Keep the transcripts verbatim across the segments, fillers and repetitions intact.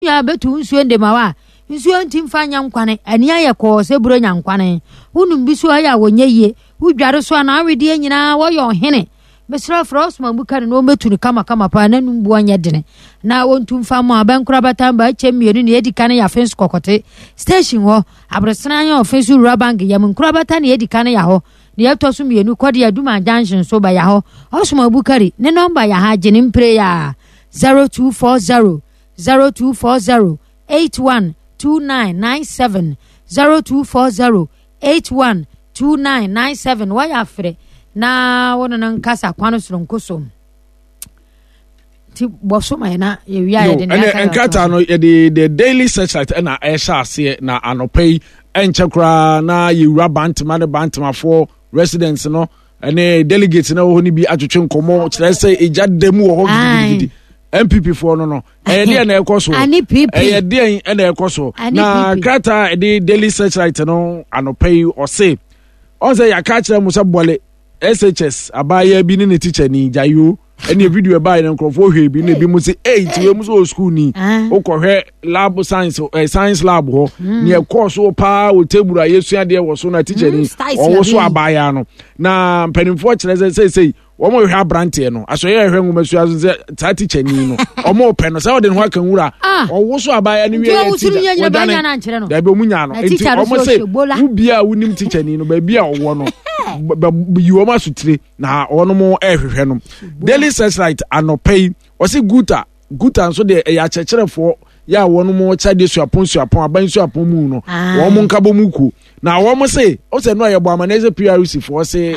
nua bɛtu nsuo ndema wa nsuo nti mfa nyɛ nkwane ani ayɛ kɔɔ sɛ buro nya nkwane. Wonum bi so ayɛ a wɔnyɛ yie. Wodware so a na awedeɛ nyinaa wɔyɛ ɔhene. Mesrɛ frɛ Osman Bukari na wɔmmɛtu no kamakama paa na num boɔ nyɛ dene na wɔntu mfa mɔ abɛnkora batamba akyɛ mmienu ne ɛdi ka no yɛ afe nso kɔkɔte station hɔ aborɔsena yɛ ɔfe so wura bank yam nkorabata ne ɛdi ka no yɛ hɔ ne ɛtɔ so mmienu kɔde aduma junction so bɛyɛ hɔ. Osman Bukari ne nɔmba yɛ ha gye ne mpire yɛ a zero two four zero zero two four zero eight one two nine nine seven zero two four zero eight one two nine nine seven. Wɔyɛ afrɛ na wɔn no nkasa kwan soronko so nti bɔ so ma yɛ na yɛwia yɛde ne aka. Nkrataa no yɛde The Daily Searchlight ɛna ɛhyɛ aseɛ na anɔpa yi ɛnkyɛ koraa na yɛwura Bantama ne Bantamafoɔ residents no ɛne delegates na wɔ hɔ no bi atwetwe nkɔmmɔ kyerɛ sɛ egya da mu wɔ hɔ gidigidi. N P P foɔ no no ɛyɛ deɛ na ɛkɔ so, ɛyɛ deɛ ɛna ɛkɔ so. Na krataa ɛde Daily Searchlight no anɔpa yi ɔse ɔn sɛ yɛaka kyerɛ mo sɛ Bɔle S H S abaayewa bi ne ne teacher ni gyayo ɛne video ɛbaayɛ no nkurɔfoɔ hwɛ bi na ebi mu sɛ ɛyi ti wei mu sɛ ɔwɔ school ni wokɔhwɛ lab science ɛ science lab hɔ nea ɛkɔɔ so paa wɔ table a yɛsua deɛ wɔ so na teacher ni ɔwɔ so abaayewa no. Na mpanimfoɔ kyerɛ sɛ seesei wɔn hwehwɛ aberanteɛ no asɔyɛ ɛhwɛ nwoma sua so sɛ saa teacher ni no wɔn pɛ no sɛ ɔde ne ho aka nwura ɔwo so abaayewa no wie yɛ teacher wɔdwane dabi ɔmu nya no. Nti wɔn sɛ wobia a wonim teacher ni no baabi a ɔwɔ no yi wɔn asotire na wɔn mo ɛrehwehwɛ no. Daily Searchlight anɔpa yi wɔsi guta guta nso deɛ ɛyɛ akyerɛkyerɛfoɔ yɛ a wɔn mo kyɛ suapɔn suapɔn aban suapɔn mu no wɔn mo nkabɔ mu kuo na wɔn se ɔsɛ no a yɛbɔ amaneɛ sɛ P R C foɔ se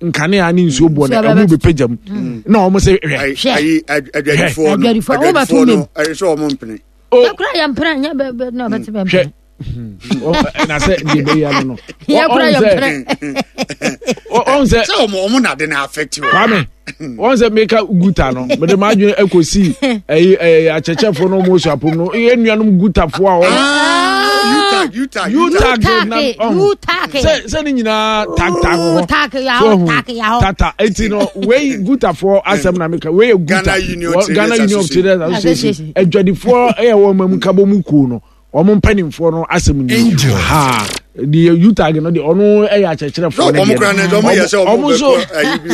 nkanea ne nsuo boɔ no ɛmu bɛpagya mu na wɔn sɛ hwɛ. Ayi adwadifoɔ no adwadifoɔ no ɛyɛ sɛ wɔn mpene. Yɛkura yɛn mpene nyɛ bɛ bɛ na ɔbɛte bɛ mpene. Hwɛ na sɛ deɛ bɛyɛ no no. Yɛkura yɛn mpene. Ɔn sɛ sɛ ɔmo ɔmo na de na affect wɔ. Kwame wɔn sɛ meka guta no mede maa adwene ɛkɔsi ɛyi ɛyi akyɛkyɛfoɔ no ɔmo osuapom no yɛ nuanom gutafoɔ a wɔn. UTAG, UTAG. UTAG na ɔho sɛ sɛ ne nyinaa tag tag hɔ so ɔho tata. Eti no wei gutafoɔ asɛm na meka. Wei yɛ guta Ghana Union of Traders Association adwadifoɔ ɛyɛ wɔn mu nkabɔ mu kuo no wɔn mpanimfoɔ no asɛm ni ha. Deɛ UTAG no deɛ ɔno ɛyɛ akyerɛkyerɛfoɔ no deɛ ɔmo nso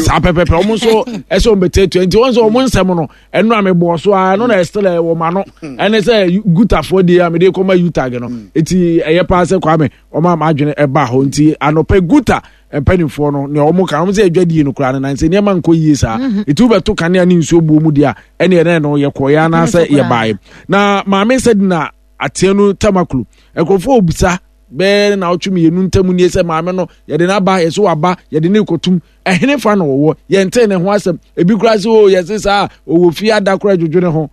saa pɛpɛpɛ ɔmo nso ɛsɛ ɔmo bɛtɛ etua. Nti wɔn nso ɔmo nsɛm no ɛno a mebɔ so a ɛno na ɛsɛ wɔ ma no ɛne sɛ gutafoɔ deɛ a mede kɔma UTAG no. Eti ɛyɛ paa sɛ Kwame ɔmo ama adwene ɛba hɔ. Nti anɔpɛ guta mpanimfoɔ no nea ɔmo ka ɔmo sɛ adwadie no koraa no nansɛ nneɛma nkɔ yie saa. Eti wobɛto kanea ne nsuo buo mu deɛ a ɛne ɛnɛ no yɛkɔeɛ anaasɛ yɛbaeɛ. Na maame sɛ na ateɛ no Tamaklo nkurɔfoɔ obisa bɛɛ na ɔtwe mmienu ntam nie sɛ maame no yɛde n'aba yɛsɛ waba yɛde ne kɔtum ɛhene fa na wɔwɔ yɛnte ne ho asɛm. Ebi koraa sɛ o yɛse saa ɔwɔ fie ada koraa dwodwo ne ho.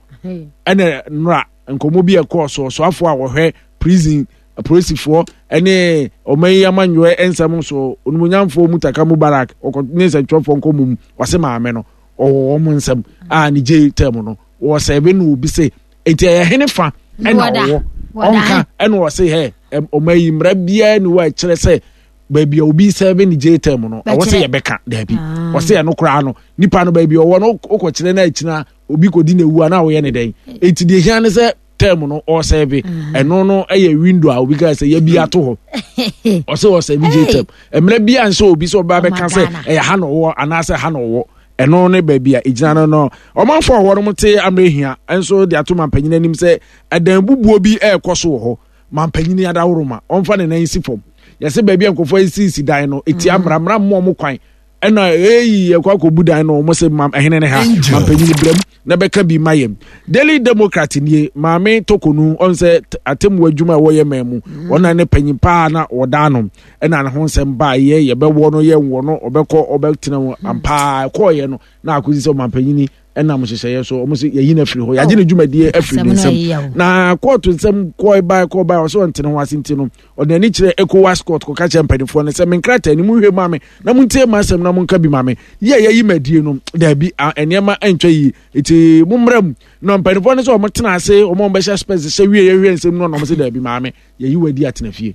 Ɛna nnora nkɔmmɔ bi ɛkɔɔ so ɔsoafoɔ a wɔhwɛ prison apolisifoɔ ɛne ɔman yi amanyɔɛ nsɛm so onimonyamfoɔ Mutaka Mubarak ɔkɔ ne nsɛntwerɛfoɔ nkɔmmɔ mu ɔse maame no ɔwɔ wɔn nsɛm a ne gye tɛm no wɔsɛbe no obi se nti ɛyɛ hene fa ɛna ɔwɔ ɔnka ɛna ɔse hɛ ɔman yi mmara biara ni wɔ ɛkyerɛ sɛ baabi a obi sɛbe ne gye tɛm no ɛwɔ sɛ yɛbɛka daabi. Ɔse ɛno koraa no nipa no baabi ɔwɔ no wokɔkyerɛ no akyina obi kɔdi na ewu a na ɔyɛ ne dɛn. Eti deɛ hia ne sɛ term no ɔsɛbe ɛno no ɛyɛ window a obi ka sɛ yɛbi ato hɔ ɔsɛ ɔsɛbe gye term mmerɛ bi a nso obi sɛ ɔba bɛka sɛ ɛyɛ ha na ɔwɔ anaasɛ ha na ɔwɔ ɛno ne baabi a egyina no no ɔmanfo a wɔn te amehia nso de ato mampanyin anim sɛ ɛdan bubuo bi ɛrekɔ so wɔ hɔ. Mampanyin adaworo ma ɔmfa ne nan si fam yɛsɛ baabi a nkurɔfoɔ asisi dan no eti amra mmra mmɔ ɔmo kwan ɛna eyi yɛkɔ akɔbu dan no ɔmo sɛ mam ɛhene ne ha mampanyin brɛm na bɛka bi ma yɛm. Daily Democrat nie. Maame Tokonu ɔn sɛ atemmu adwuma a wɔyɛ man mu ɔna ne panyin paa na ɔda no ɛna ne ho nsɛm baa yɛ yɛbɛwɔ no yɛnwɔ no ɔbɛkɔ ɔbɛtena mu ampaa ɛkɔɔyɛ no na akɔsi sɛ ɔmampanyini ɛnam nhyehyɛeɛ so ɔmo sɛ yɛyi no afiri hɔ yɛagye ne dwumadie afiri ne nsam. Na kɔɔto nsɛm kɔɔ bae kɔɔ bae ɔsɛ ɔntene ho ase nti no ɔde n'ani kyerɛ ECOWAS court kɔka kyerɛ mpanimfoɔ no sɛ me nkrataa ni monhwɛ ma me na montie ma asɛm na monka bi ma me yi a yɛyi ma adie no daabi nneɛma ntwa yie nti mommra mu. Na mpanimfoɔ no sɛ ɔmo tena ase ɔmo ɔmo bɛhyɛ spɛs hyɛ wie yɛhwɛ nsɛm no na ɔmo sɛ daabi maame yɛyi wadi atena fie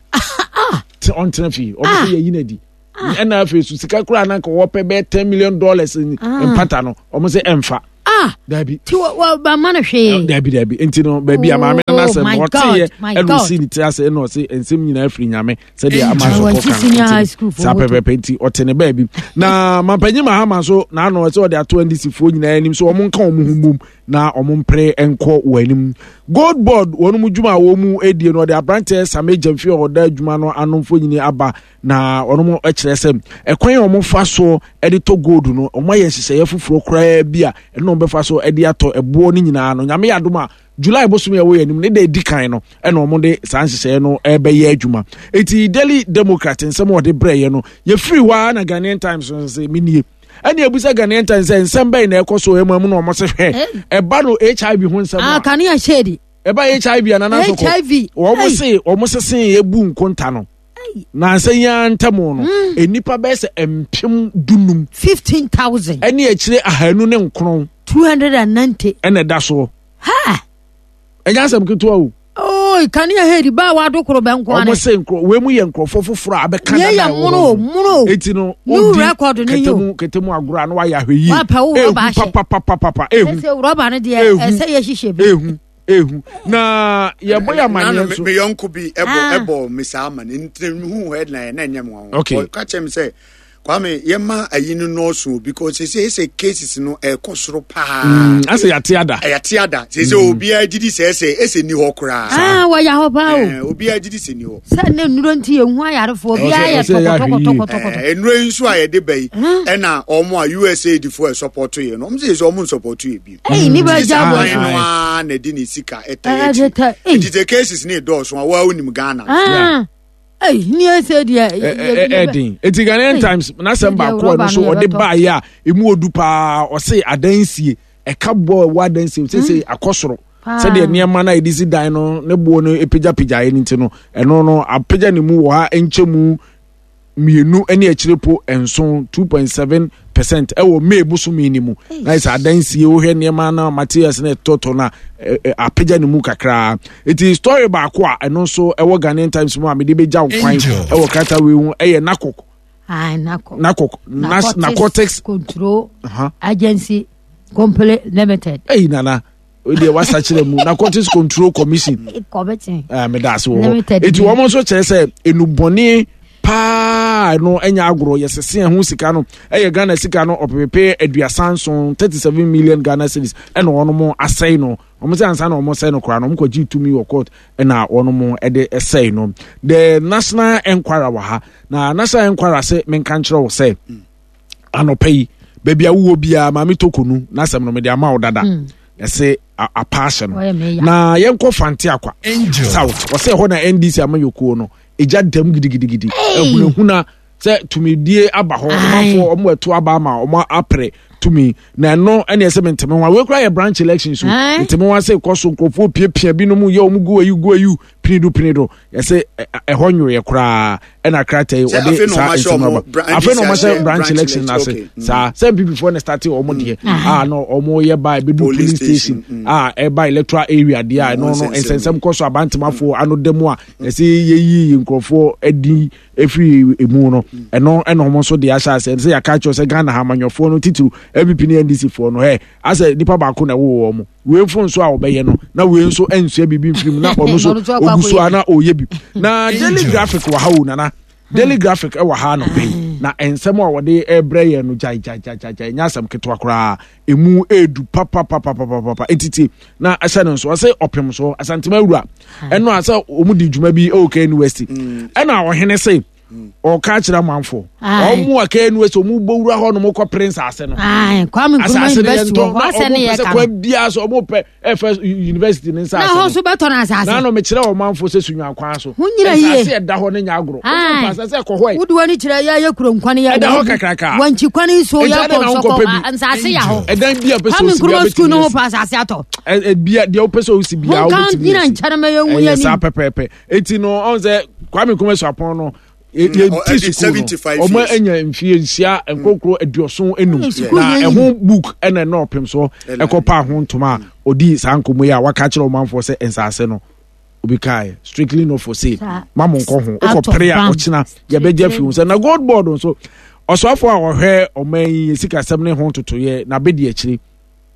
ɔntena fie. Ɔmo sɛ yɛyi no adi ɛna afei so sika koraa na nka wɔpɛ bɛyɛ ten million dollars mpata no ɔmo sɛ ɛmfa. Ah, dabi ti wa ba ma no hwee. Dabi dabi nti no baabi a maame no asɛm ɔteeɛ ɛna ɔsi ne ti ase ɛna ɔse nsɛm nyinaa firi Nyame sɛdeɛ ama so kɔka saa pɛpɛpɛ nti ɔte ne baabi. Na mampanyin Mahama nso n'ano ɛsɛ ɔde ato N D C foɔ nyinaa anim so wɔn nka wɔn ho mbom na wɔn mpere nkɔ wɔn anim. Gold Board wɔn mu dwuma a wɔn mu edie no ɔde aberanteɛ Same Gyamfi a ɔda adwuma no ano mfonini aba na wɔn mu kyerɛ sɛ ɛkwan a wɔn fa so de tɔ gold no wɔn ayɛ nhyehyɛeɛ foforɔ koraa bi a ɛno wɔn bɛfa so de atɔ ɛboɔ no nyinaa no. Nyame yɛ adom a July bosom yɛ wɔ yɛn anim ne da edi kan no ɛna wɔn de saa nhyehyɛeɛ no ɛbɛyɛ adwuma. Eti Daily Democrat nsɛm a wɔde brɛ yɛ no yɛfiri hɔ ara na Ghanaian Times nso sɛ minie. Ɛne ebusa Ghanaian Times sɛ nsɛm bɛyɛ na ɛkɔ so ɛmu ɛmu na wɔn sɛ hwɛ ɛba no H I V ho nsɛm a. Kanea shade. Ɛba H I V anana nso kɔ. Wɔn se wɔn sese ebu nkonta no. Na nsɛ yɛn ntam no enipa bɛyɛ sɛ mpem dunum. Fifteen thousand. Ɛne akyire ahanu ne nkron. Two hundred and ninety. Ɛna ɛda soɔ. Ha. Ɛnyɛ asɛm ketewa o. Oh, kanea hedi ba wa do koro bɛn kwan. Ɔmo se nkro we mu yɛ nkrɔfo foforo abɛka na na ɛwɔ. Muno. Eti no new record no yo. Ketemu ketemu agorɔ ano ayɛ ahwɛ yie. Wa pa wo rɔba ahyɛ. Pa pa pa pa pa. Ehu. Sɛ rɔba no deɛ ɛsɛ yɛ hyehyɛ bi. Ehu. Ehu. Na yɛ bɔ yɛ amane nso. Me yɔnko bi ɛbɔ ɛbɔ me saa amane nti hu headline na ɛnyɛ mo ho. Okay. Ka kyerɛ me sɛ Kwame yɛma ayi no nɔɔso because sɛ sɛ cases no ɛkɔ soro paa. Asɛ yɛate ada. Yɛate ada. Sɛ sɛ obiara gidi sɛ sɛ ɛsɛ ni hɔ koraa. Ah, wɔyɛ hɔ paa o. Obiara gidi sɛ ni hɔ. Sɛ ne nnuro nti yɛn ho ayarefoɔ obiara yɛ tɔkɔtɔkɔtɔkɔtɔkɔ. Nnuro yi nso a yɛde ba yi ɛna ɔmo a U S A D foɔ ɛsɔpɔto yɛ no ɔmo sɛ sɛ ɔmo nsɔpɔto yɛ bi. Ɛyi ni bɛ gya bɔ so. No ara na ɛde ne sika ɛta yɛ akyi. Nti sɛ cases ne dɔɔso a wɔn anim Ghana. Hey, ni ese deɛ ɛdin eti Ghanaian Times n'asɛm baako ɛno so ɔde baayɛ a emu odu paa ɔse adansie ɛka bɔ ɛwɔ adansie sese akɔ soro sɛdeɛ nneɛma na yɛde si dan no ne boɔ no epagyapagya yɛ ne ti no ɛno no apagya ne mu wɔ ha nkyɛmu mmienu ne akyire po nson two point seven percent ɛwɔ May bosomi ni mu na yɛ sɛ adansie wohwɛ nneɛma na materials na ɛtɔtɔ na apagya ne mu kakraa. Eti story baako a ɛno nso ɛwɔ Ghanaian Times mu a mede bɛgya wo kwan ɛwɔ krataa wei ho ɛyɛ NACOC. Ah, NACOC. NACOC Narcotics Control uh-huh. Agency Company Limited. Hey nana deɛ wasa kyerɛ mu Narcotics Control Commission. Commission. Ah, meda ase wɔ hɔ. Eti wɔn nso kyerɛ sɛ enubɔne paa no ɛnya agorɔ yɛsese ɛho sika no ɛyɛ Ghana sika no ɔpepepe aduasa nson thirty seven million Ghana cedis ɛna wɔn mo asɛe no wɔn sɛ ansa na wɔn sɛe no koraa no wɔn kɔgye tumi wɔ court ɛna wɔn mo ɛde ɛsɛe no. The National Enquirer wɔ ha na National Enquirer sɛ menka nkyerɛ wɔ sɛ anɔpɛ yi baabi a wowɔ biara maame Tokonu n'asɛm no mede ama wo dada ɛsɛ apaase no na yɛnkɔ Fante Akwa South ɔsɛ ɛhɔ na N D C amayɔkuo no egya dam gidigidigidi ehunahuna sɛ tumidie aba hɔ ɔmanfoɔ ɔmo ɛto aba ama ɔmo apere tumi na ɛno ɛne ɛsɛ menteme ho a wei kura yɛ branch election so nteme ho ase kɔ so nkurɔfoɔ piapia binom yɛ ɔmo gu ayi gu ayi pinido pinido ɛsɛ ɛhɔ nwoyɛ koraa ɛna krataa yi ɔde saa nsɛm aba afei na ɔmo ahyɛ branch election ase saa sɛ N P P foɔ na start ɔmo deɛ a na ɔmo yɛ ba ebi du polling station a ɛba electoral area deɛ a ɛno no nsɛnsɛm kɔ so abantemafoɔ ano da mu a ɛsɛ yɛyi nkurɔfoɔ adi efiri emu no ɛno ɛna ɔmo nso de ahyɛ ase ɛsɛ yɛaka kyerɛ sɛ Ghana ha amanyɔfoɔ no titiriw N P P ne N D C foɔ no ɛ asɛ nipa baako na ɛwɔ wɔn wei mfo nso a ɔbɛyɛ no na wei nso nsua biribi mfiri mu na ɔno nso ogu so a na ɔyɛ bi. Na Daily Graphic wɔ ha o nana Daily Graphic ɛwɔ ha no pɛn na nsɛm a wɔde ɛbrɛ yɛn no gyae gyae gyae gyae nyɛ asɛm ketewa koraa emu edu papapapapapa etiti na ɛhyɛ no nso ɔsɛ ɔpem so Asantema awura ɛno a sɛ wɔn di dwuma bi ɛwɔ K N U S T ɛna ɔhene se ɔka kyerɛ amanfo ɔmo a K N U S T ɔmo bɔ wura hɔ nom kɔ pere nsaase no asase no yɛ ntɔ na ɔmo pɛ sɛ kwan biara so ɔmo pɛ ɛfɛ university ne nsaase no na hɔ nso bɛtɔ no asase na no mekyerɛ ɔmanfo sɛ sunwan kwan so nsaase ɛda hɔ ne nya agorɔ ɔmo pɛ asase ɛkɔ hɔ yi wode wani kyerɛ yɛ yɛ kuro nkwan yɛ ɛda hɔ kakraka wankyi kwan so yɛ kɔ nsɔkɔ nsaase yɛ hɔ ɛdan bi a pɛ sɛ osi bi a bɛtumi school no ho pɛ asase atɔ ɛ bia deɛ wopɛ sɛ osi bi a wobɛtumi ɛyɛ saa pɛpɛɛpɛ eti no ɔn sɛ Kwame Nkrumah Suapɔn no yɛti sukuu no ɔmo anya mfie nsia nkorokoro aduɔson enum na ɛho book ɛna ɛna ɔpem so ɛkɔ pa ho ntoma a ɔdi saa nkɔmɔ yi a waka kyerɛ ɔmanfoɔ sɛ nsaase no obi kae strictly not for sale ma mo nkɔ ho wokɔ pere a ɔkyena yɛbɛgye afiri ho sɛ na gold board nso ɔsoafoɔ a ɔhwɛ ɔman yi sikasɛm ne ho ntotoyɛ na abɛdi akyire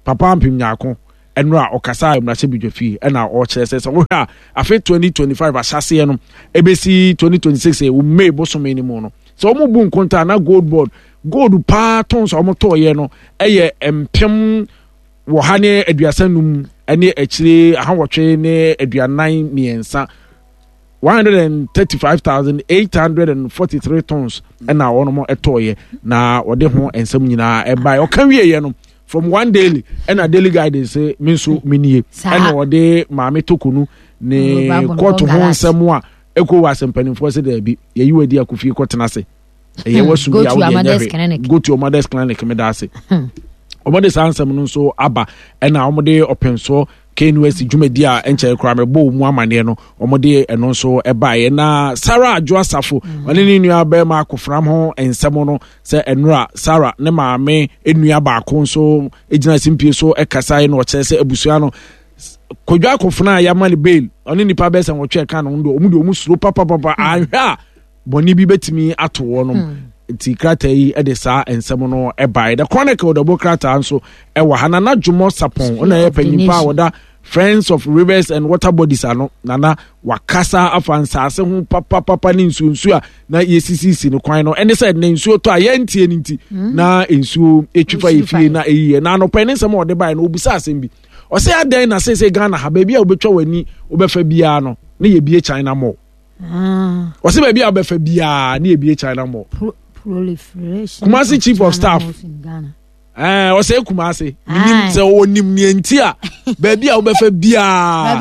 Papa Ampem Nyarko ɛno a ɔkasa mmarahyɛbadwa fie ɛna ɔkyerɛ sɛ sɛ wohwɛ a afe twenty twenty five ahyɛseɛ no ɛbɛsi twenty twenty six ɛwɔ May bosome no mu no, sɛ wɔn bu nkonta na Gold Board gold paa tons a wɔn tɔɔyɛ no ɛyɛ mpem wɔ ha ne aduasa num ne akyire ahawɔtwe ne aduanan mmiɛnsa, one hundred and thirty five thousand eight hundred and forty three tons ɛna wɔn tɔɔyɛ. Na wɔde ho nsɛm nyinaa ɛbaeɛ. Ɔka wieɛ no, from one daily ɛna Daily Guidance me nso me nie, ɛna wɔde Maame Tokonu ne kɔɔto ho nsɛm a ɛkɔ wɔ asɛmpanimfoɔ sɛ daabi, yɛyi wɔ adi akofie kɔtena ase, ɛyɛ wasu bi a wode ɛnyɛ hwɛ, go to your mother's clinic. Meda ase. Wɔde saa nsɛm no nso aba, ɛna wɔde ɔpɛnsoɔ K N U S T dwumadi a ɛnkyɛn koraa mɛbɔ mu amaneɛ no, wɔde ɛno nso ɛbaeɛ. Na Sarah Adwo Asafo, ɔne ne nua bɛrima Akofram ho nsɛm no sɛ ɛnora Sarah ne maame nua baako nso gyina simpie so ɛkasa na ɔkyerɛ sɛ abusua no Kodwa Akofena a yɛama no bail, ɔne nipa bɛyɛ sɛ nwɔtwe ɛka no ho, ɔmo de ɔmo suro papapapa, ahwɛ a bɔnne bi bɛtumi ato wɔnom. Nti krataa yi de saa nsɛm no baeɛ. The Chronicle de bɔ krataa nso ɛwɔ ha. Nana Dwomɔ Sapɔn, ɔna yɛ panyimpa a wɔda Friends of Rivers and Water Bodies ano. Nana wakasa afa nsaase ho papapapa ne nsuonsuo a na yɛsisisi no kwan no, ɛne sɛ ne nsuo tɔ a yɛntie no nti na nsuo ɛtwi fa yɛ fie na ɛyiyɛ. Na anɔpɛ ne nsɛm a ɔde baeɛ no, ɔbisa asɛm bi, ɔsɛ adɛn na seesei Ghana ha, baabi a wobɛtwa w'ani wobɛfa biara no ne yɛbie China Mall? Ɔsɛ baabi a wobɛfa biara ne yɛbie China Mall. Kumasi Chief of Staff ɔsɛ Kumasi menim sɛ ɔnim neɛ nti a baabi a wobɛfa biara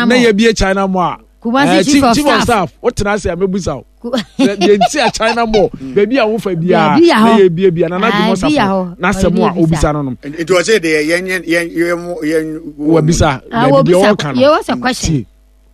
na yɛbie China Mall a. Kumasi chief of Chief of Staff, wotena ase a mɛbusa wo deɛ nti a China Mall, baabi a wofa biara na yɛbie bia. Nana Dwomɔ Sapɔ n'asɛm a obisa no no Nti ɔsɛ deɛ yɛn yɛn yɛn yɛn Wabisa baabi deɛ ɔka no tie.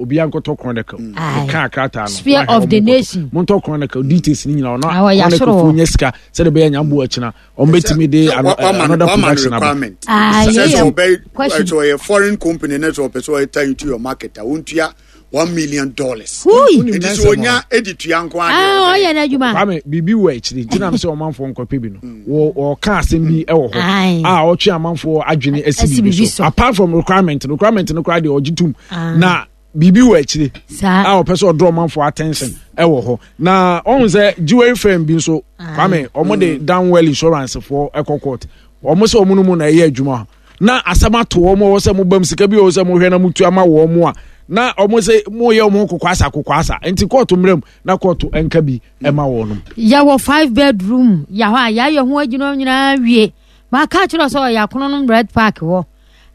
Obiara nkɔtɔ Chronicle, ɛka akrataa no. Spear of the Nation. Montɔ Chronicle details ni nyinaa. Ɔno Chronicle fo nyɛ sika sɛde bɛyɛ nyambo akyina ɔmo bɛtumi de another production aba. Sɛ sɛ ɔbɛ sɛ ɔyɛ foreign company na sɛ ɔpɛ sɛ ɔyɛ tie into your market a, wontua one million dollars. Nti sɛ onya edi tua nko adi. Ɔyɛ n'adwuma. Kwame, biribi wɔ akyiri nti nam sɛ ɔmanfoɔ nkɔpɛ bi no, wɔka asɛm bi wɔ hɔ a ɔtwe amanfoɔ adwene asi biribi so. Apart from requirement requirement no koraa deɛ ɔgye tum na biribi wɔ akyire a ɔpɛ sɛ ɔdraw ɔmanfoɔ attention ɛwɔ hɔ. Na ɔhun sɛ jewelry firm bi nso, Kwame, ɔmo de Downwell Insurance foɔ ɛkɔ court. Ɔmo sɛ ɔmo no mu na ɛyɛ adwuma na asɛm ato wɔn wɔ sɛ mo bam sika bi wɔ sɛ mo hwɛ na mo tu ama wɔn mo a, na ɔmo sɛ mo yɛ ɔmo kokoasa kokoasa, nti kɔɔto mmerɛ mu na kɔɔto nka bi ɛma wɔn no. Yɛwɔ five bedroom yɛ hɔ a yɛayɛ ho adwuma nyinaa wie. Maka kyerɛ sɛ ɔyɛ akono no Red Park hɔ.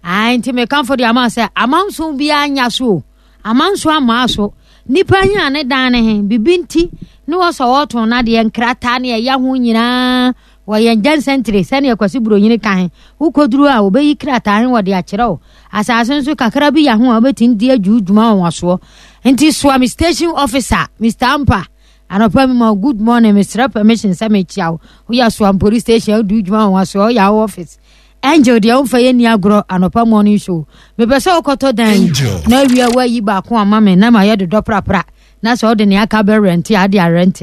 Ae, nti mekamfo de ama sɛ amanso biara nya so o, amanso amaa so nipa hia ne dan ne he bibi nti ne wɔsɔ wɔtɔn n'adeɛ nkrataa ne ɛyɛ ho nyinaa wɔyɛ ngyɛnsɛntire sɛnea Kwasi Buronyini ka he. Wokɔduru a, wɔbɛyi krataa he wɔde akyerɛ wo. Asase nso kakra bi yɛ ho a wobɛtumi de adwu dwuma wɔ wasoɔ. Nti soa me station officer Mister Ampa, anɔpa mi ma good morning. Mesrɛ permission sɛ mekyia wo. Woyɛ Soam Police Station, wodi dwuma wɔ wasoɔ, woyɛ wo office. Angel deɛ, womfa yɛ ni agorɔ. Anɔpa morning show, mepɛ sɛ wokɔtɔ dan yi na awia woayi baako ama me na mayɛ dodɔ prapra, na sɛ wode nea aka bɛ rent a, ade arent.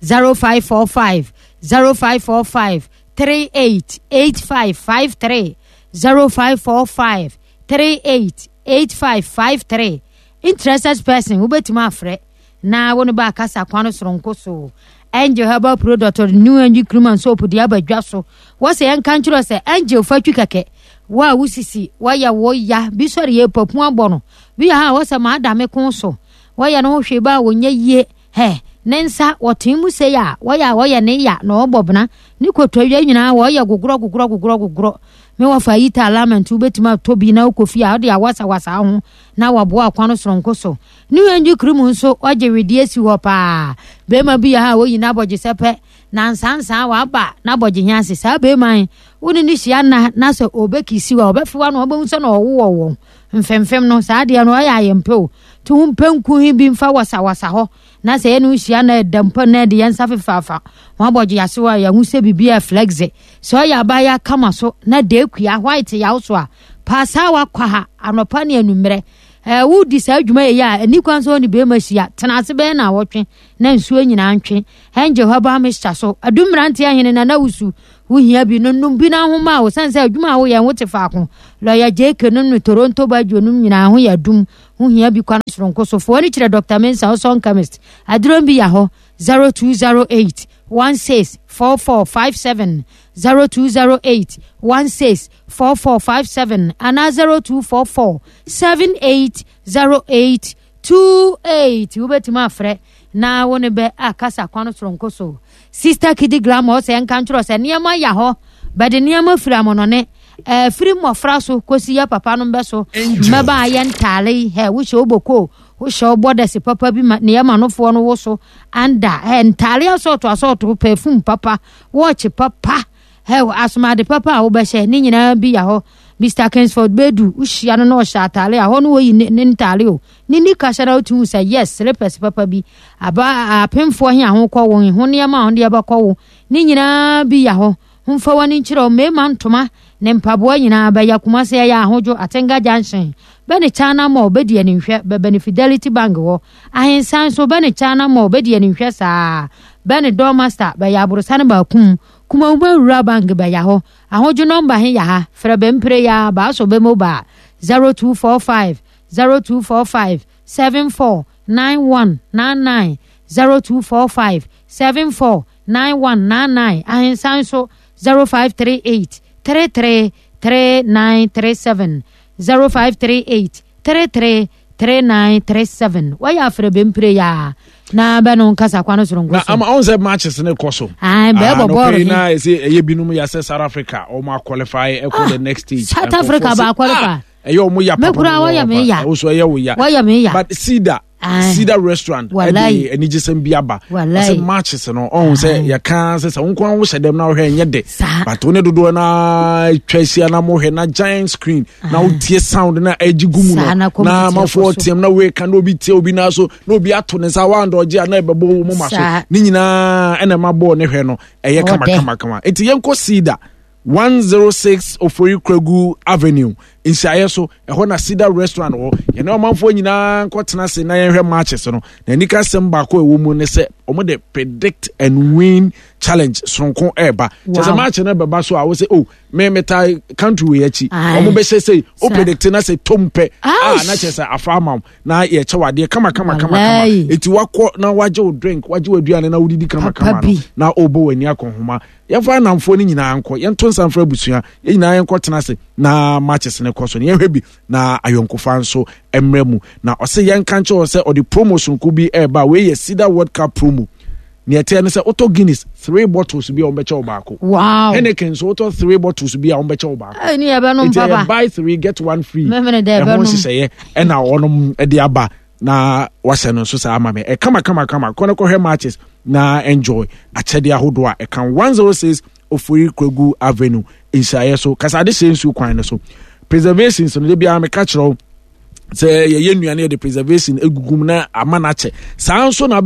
zero five four five zero five four five three eight eight five five three, zero five four five three eight eight five five three. Interested person wobɛtumi afrɛ na wo ne ba akasa kwan no soronko so. Angel Herbal Product, New Angel Cream and Soap de aba dwa so. Wɔsɛ yɛnka nkyerɛ sɛ Angel fa twi kɛkɛ. Wo a wosisi wɔyɛ wo ya bi sɔre yɛ papu abɔ no bi yɛ ha a, wɔsɛ maa da me ko so wɔyɛ no ho hwee ba a wɔnyɛ yie hɛ ne nsa wɔtee mu sei a, wɔyɛ a wɔyɛ ne ya na ɔbɔ bena ne kotodwe nyinaa wɔyɛ gogorɔ gogorɔ gogorɔ gogorɔ. Me wɔfa yi ta alignment, wobɛtumi atɔ bi na wokɔ fie a, wode awasawasa ho na waboa kwan no soronko so. Ne Angel Cream nso ɔgye wedeɛ si hɔ paa. Bɛrima bi yɛ ha a wɔyi n'abɔgye sɛ pɛ na nsansan waba n'abɔgye hia ase. Saa bɛrima yi, wo ne ne hyia nna na sɛ ɔbɛkisi wa ɔbɛfewa no, ɔbɛhu sɛ na ɔwowɔ wɔn mfemfem no. Saa adeɛ no ɔyɛ ayɛmpɛ o, nti ho mpɛnku yi bi mfa wasawasa hɔ na sɛ yɛne wo hyia na ɛda mpa na ɛde yɛn nsa fefaafa ho abɔgye ase hɔ a, yɛho sɛ biribi a flexe sɛ ɔyɛ abaayewa kama so na deekua white yaw so a paasaa wakɔ ha anɔpa ne anummerɛ. Ɛɛ wodi saa adwuma yɛ a ani kwan sɛ ɔne bɛrima hyia tena ase bɛyɛ na awɔtwe na nsuo nyinaa ntwe. Angel Herbal Mixture so adum mmeranteɛ ahene na na wusu wohia bi no nom bi na ahoma a wɔsan sɛ adwuma a woyɛ ho te faako. Lɔya J K no ne Toronto badwo nom nyinaa ho yɛ adum. Wohia bi kwan soronko so foɔ ne kyerɛ Doctor Mensa ɔsɔn chemist aduro bi yɛ hɔ zero two zero eight one six four four five seven, zero two zero eight one six four four five seven anaa zero two four four seven eight zero eight two eight. Wobɛtumi afrɛ na wo ne bɛ akasa kwan soronko so. Sister Kidi Glamour ɔsɛ nka nkyerɛ sɛ nneɛma yɛ hɔ bɛde nneɛma firi amɔnɔne ɛfiri mmɔfra so kɔsi yɛ papa no bɛ so mmɛba a yɛ ntaale ɛ wohyɛ wobɔko wohyɛ wobɔ dɛse papa bi ma nneɛma nofoɔ no wo so anda ɛ ntaale asɔɔto asɔɔto, perfume papa, watch papa, ɛ asomade papa a wobɛhyɛ ne nyinaa bi yɛ hɔ. Mister Kingsford Bedu wohyia no na ɔhyɛ ataale a hɔ no wɔyi ne ne ntaale o ne nika hyɛ na wotumi sɛ yes, slippers papa bi aba apemfoɔ he a ho kɔ wo ho nneɛma a ho deɛ bɛkɔ wo ne nyinaa bi yɛ hɔ. Homfa w'ani nkyerɛ wo mmarima ntoma ne mpaboa nyinaa bɛyɛ Kumase ɛyɛ Ahodwo Atenga Junction bɛne China Mall bɛdi animhwɛ bɛbɛne Fidelity Bank wɔ Ahensan so bɛne China Mall bɛdi animhwɛ saa bɛne Dormaster bɛyɛ aborosane baakum Kumawuma Rural Bank bɛyɛ hɔ. Ahodwo nɔmba he yɛ ha, frɛ bɛmpere ya baaso bɛ mobile zero two four five zero two four five seven four nine one nine nine, zero two four five seven four nine one nine nine. Ahensan so zero five three eight three three three nine three seven, zero five three eight three three three nine three seven. Wɔyɛ afrɛ bɛmpire ya na bɛno nkasa kwan soronko Na so. Ama ɔn sɛ matches ne kɔ so. Aye, bɛɛbɔ bɔɔlo he. Na ɛsɛ ɛyɛ binom yɛ sɛ South Africa ɔmo aqualify ɛkɔ the next stage. South Africa Nkurɔfoɔ ba sɛ, aqualify. "Ah, ɛyɛ ɔmo ya Me papa." koraa wɔyɛ me ya. Ɛwo so ɛyɛ wo ya. Wɔyɛ me ya. But Cedar Aye. Cedar Restaurant Wallahi. ɛde anigyesɛm bi aba. Wallahi. Ɔsɛ matches no ɔhun sɛ yɛka sɛ sɛ wo nko ara wohyɛ dɛm na wohwɛ ɛnyɛ de. Saa. But wo ne dodoɔ na atwa ahyia na mohwɛ na giant screen na wotie sound na ɛgye gu mu Saa, no na na computer amanfoɔ kɔ so. team na wei ka na obi tie obi na so na obi ato ne nsa wanda ɔgye a na ɛbɛbɔ wo mu ma so. Saa. Ne nyinaa ɛna ɛma bɔɔl ne hwɛ no ɛyɛ Ɔdɛ. kama kama kama. Nti yɛnkɔ Cedar, one zero six Ofori Kragu Avenue nsiayɛ so, ɛhɔ na Cedar Restaurant wɔ. Yɛne ɔmanfoɔ nyinaa nkɔtena ase na yɛnhwɛ matches no. Na anika sɛm baako a ɛwɔ mu ne sɛ ɔmo de predict and win challenge soronko ɛɛba kyɛ sɛ Wow. match no bɛba so a wo sɛ, oh, me meta country wei akyi, Aye. ɔmo bɛhyɛ sɛ o Sa- predict na sɛ tom pɛ a Aish. na kyerɛ sɛ afa ama wo na yɛkyɛ wadeɛ kama kama kama kama. Wallahi. Eti wakɔ na wagye wo drink, wagye wo aduane na wodidi kama Papa kama no bi. na ɔbɔ w'ani akɔnhoma. Yɛmfa anamfoɔ no nyinaa nkɔ, yɛnto nsa mfra abusua, yɛn nyinaa yɛnkɔ tena ase na matches no kɔ so no yɛhwɛ bi na ayɔnkofa nso mmerɛ mu. Na ɔsɛ yɛnka nkyerɛ wɔ sɛ ɔde promo sonko bi ɛreba a wei yɛ Cedar World Cup promo. Nea ɛteɛ ne sɛ wotɔ Guinness three bottles bi a wɔbɛkyɛ wo baako. Wow. Heineken nso wotɔ three bottles bi a wɔbɛkyɛ wo baako. Ɛni yɛbɛnom Nti ɛyɛ papa. buy three get one free. Mɛmene dɛ ɛho ɛbɛnom. nhyehyɛeɛ ɛna wɔnom de aba na wahyɛ no nso saa ama me ɛkama kama kama. Kɔ no kɔhwɛ matches na enjoy akyɛdeɛ ahodoɔ a ɛka. one zero six Ofori Kwagu Avenue nhyiraeɛ so kasade hyɛ nsuo kwan no so. Preservations no de biara meka kyerɛ wo sɛ yɛyɛ nnuane, yɛde preservation egugu mu na ama no akyɛ saa nso na